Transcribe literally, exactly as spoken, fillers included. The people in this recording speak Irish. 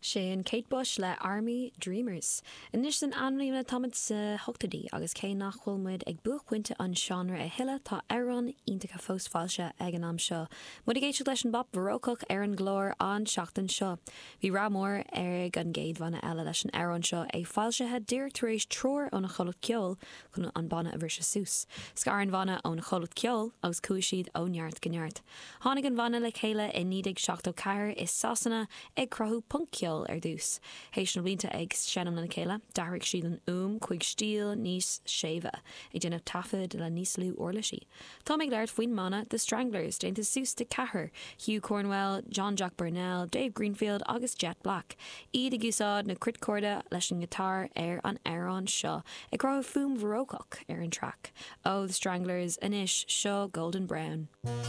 Sin Kate Bush le Army Dreamers. Anois san amlíne táimid sna hochtóidí agus cé nach bhfuil muid ag buaicphointe an seánra a thuilleadh tá amhráin iontacha fós foilsithe ag an am seo. Muid ag éisteacht leis an bpop barócach ar an gclár an seachtain seo. Bhí rath mór ar an gcéad bhanna eile leis an amhrán seo é foilsithe díreach tar éis treoir óna chomhlacht ceoil chun an banna a bhriseadh suas. Scar an banna ón chomhlacht ceoil agus chuaigh siad ó neart go neart. Tháinig an banna le chéile i naoi déag seachtó ceathair i Sasana ag cruthú punc-cheol ar dtús. Théis na blianta ag seinm lena chéile, d'athraigh siad an fhuaim chuig stíl níos séimhe, ag déanamh taifead le níos lú uirlisí. Tá ag labhairt faoin mbanna The Stranglers déanta suas de ceathrar, Hugh Cornwell, John Jack Burnell, Dave Greenfield agus Jet Black. Iad ag úsáid na cruitchorda leis an ngiotár ar an amhrán seo, ag cruthú fuaim bharócach ar an traic. Ó The Stranglers anois seo Golden Brown.